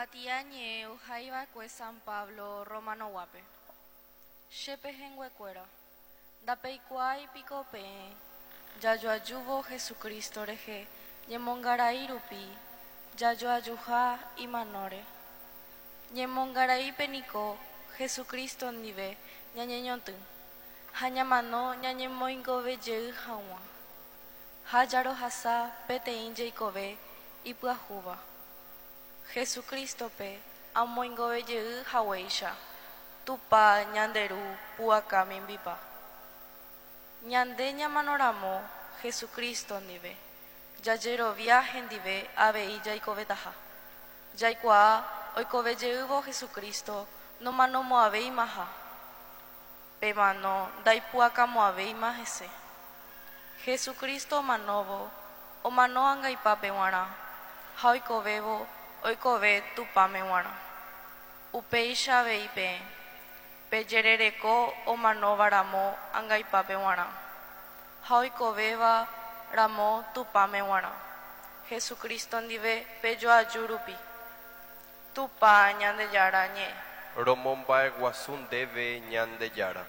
Kuatiañe'ẽ ohaiva'ekue San Pablo Romanoguápe. Che pehẽnguekuéra, ndapeikuaái piko peẽ jajoajúvo Jesucristo rehe ñemongarai rupi jajoajuha imanóre. Ñemongaraípe niko Jesucristo ndive ñañeñotỹ ha ñamano ñañemoingove jey hag̃ua ha jarohasa peteĩ jeikove ipyahúva. Jesucristo-pe amoingove jey haguéicha, Tupã ñande Ru pu'aka mimbipa. Ñande ñamanóramo Jesucristo ndive, jajerovia hendive avei jaikovetaha. Jaikuaa oikove jeývo Jesucristo nomanomo'ãvéimaha, pe mano ndaipu'akamo'ãvéima hese. Jesucristo omanóvo, omano angaipápe g̃uarã, ha oikovévo, oikove Tupãme g̃uarã. Upéicha avei peẽ, pejerereko omanóva ramo angaipápe g̃uarã, ha oikovéva ramo Tupãme g̃uarã, Jesucristo ndive pejoaju rupi. Tupã Ñandejára ñe'ẽ. Romomba'eguasu ndéve Ñandejára.